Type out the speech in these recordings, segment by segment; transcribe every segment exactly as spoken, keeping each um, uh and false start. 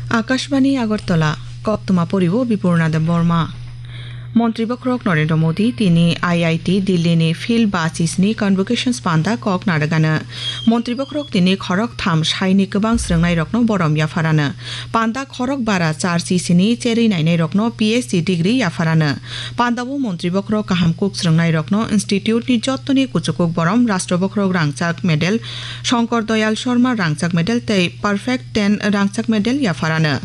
Akashbani Agartala, Koktwma poribo Bipurna Debbarma. Montri Bokhorok Narendra Modi tini I I T Delhi ni Field Basis ni Convocations panda kok narwgano. Montri Bokhorok tini khorok tham saini kwbang srwngnairokno borom yapharano. Panda khorok bara char chisini cherwi nainairokno P H D degree yapharano. Pandao Montri Bokhorok kaham kuk srwngnairokno institute ni jottoni kuchukuk borom Rashtra Bokhorok rangchak medal, Shankar Dayal Sharma rangchak medal tei Perfect ten rangchak medal yapharano.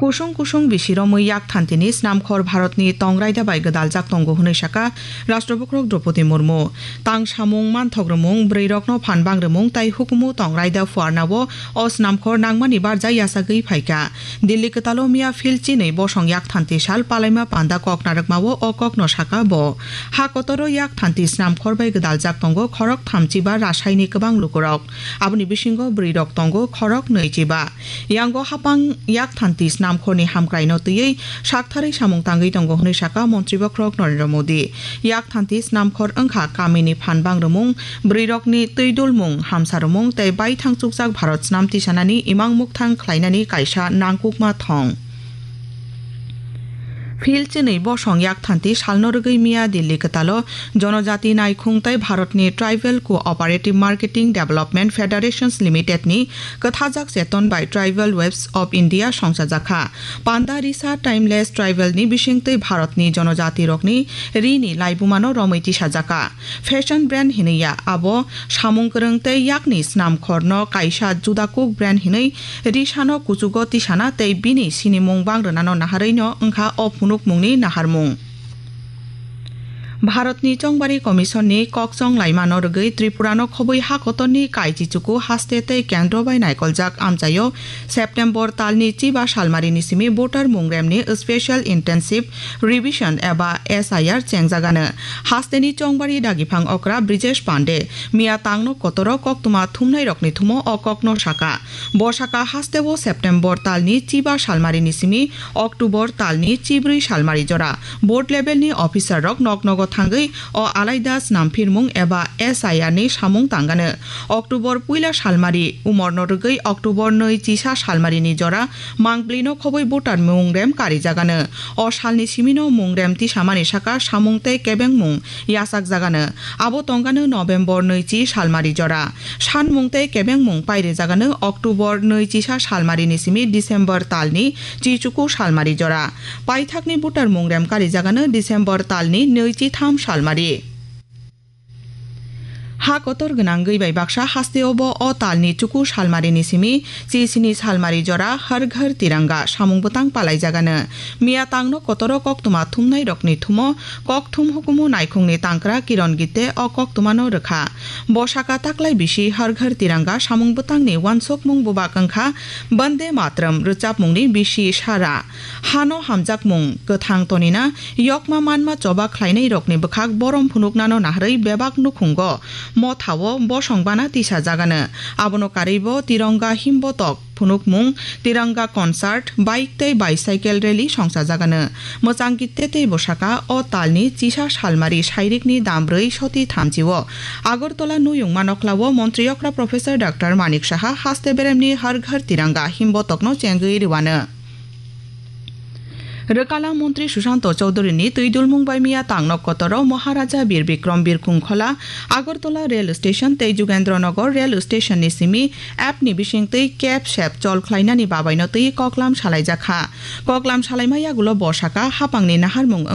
Kusung kusung bisi romwi yak thantini snamkhor Bharatni tong raida bai gwdaljak tongo hwnwi saka Rashtra Bokhorok Droupadi Murmu. Tang samung, manthok rwmung, bwrwirokno phan bang rwmung tei hukumu tong raida phuarnao o snamkhor nangmani barja yachagwi phaikha. Delhi kwtalo miya phil chinwi bosong yak thanti sal palaima panda kok narwkmao o kokno saka bo. Ha kotoro yak thanti snamkhor bai gwdaljak tongo khorok thamchi ba rasaini kwbang lukurok. Aboni bisingo bwrwirok tongo khorok nwichi ba. Yango hapang yak thanti snamkhorni hamkraino twiwi saktharwi samung tangwi tongo hwnwi saka Montri Bokhorok Narendra Modi. Yak thanti snamkhor wngkha kamini phan bang rwmung, bwrwirokni twi dulmung, hamsa rwmung tei baithang chukjak Bharat snam tisanani imang mukthang khlainani kaisa nangkukma thong. Phil chinwi bosong yak thanti salno rwgwi miya Delhi kwtalo Jonojati Naikhung tei Bharatni Tribal Cooperative Marketing Development Federations Limited ni kwthajak cheton bai Tribal Waves of India songchajakha. Panda risa Timeless Tribal ni bisingtwi Bharatni jonojati rokni rini laibumano romwi tisajakha. Fashion brand hinwi ya, abo samung kwrwng tei yakni snamkhorno kaisa judakuk brand hinwi risano kuchugo tisana tei bini sinimung bang rwnano naharwino wngkha o phunukmungni naharmung. Bharatni Chongbari Commission ni kokchong laimano rwgwi Tripurano khobwi ha kotorni kaichi chuku haste tei kendro bai naikoljak amchaio September talni chiba salmarini simi voter mungremni Special Intensive Revision eba S I R chengjagano. Hasteni chongbari dagiphang okra Brijesh Pande miya tangno kotoro koktwma thumnairokni thumo o kokno saka. Bo saka hasteo September talni chiba salmarini simi October talni chibrwi salmari jora board level ni officer rok nok nogo thangwi o alaida snamphirmung eba S I R ni samung tangano. October puila salmari umorno rwgwi October nwi chisa salmarini jora mangpli no khobwi voter mungrem karijagano. O salni simino mungrem tisamani saka samung tei kebengmung yachakjagano. Abo tongkano November nwi chi salmari jora. Sanmung tei kebengmung pairijagano October nwi chisa salmarini simi December talni chichuku salmari jora. Paithakni voter mungrem karijagano December talni nwi chi tham salmari. Ha kotor gwnangwi bai baksa hasteo bo o talni chuku salmarini simi chi sini salmari jora Har Ghar Tiranga samung bwtang palaijagano. Miya tangno kotoro koktwma thumnairokni thumo kokthum hukumu naikhungni tangkra Kiron Gitte o koktwmano rwkha. Bo saka taklai bisi Har Ghar Tiranga samung bwtangni uansukmung bubak wngkha Bande Matram rwchapmungni bisi sara. Hano hamjakmung kwthang tonina yokma manma choba khlainairokni bwkhak borom phunuknano naharwi bebak nukhungo mothao bosong bana tisajagano. Abono karwibo Tironga himbotok phunukmung, Tiranga concert, bike tei bicycle rally songchajagano. Mwchang Gitte tei bwsaka o talni chisa salmari sairikni dambrwi soti thamchio. Agartala Nuyung Manoklao Montri Okra Professor Doctor Manik Saha haste beremni Har Ghar Tiranga himbotokno chengwi rwano. Rwkala Montri Sushanto Chowdhury ni twi dulmung bai miya tangno kotoro Maharaja Bir Bikram Birkhung Khola, Agartala Rail Station tei Jugendra Nagar Rail Station ni simi app ni bisingtwi kep sep chol khlainani babaino twi koklam salaijakha. Koklam salaima yagulo bo saka hapangni naharmung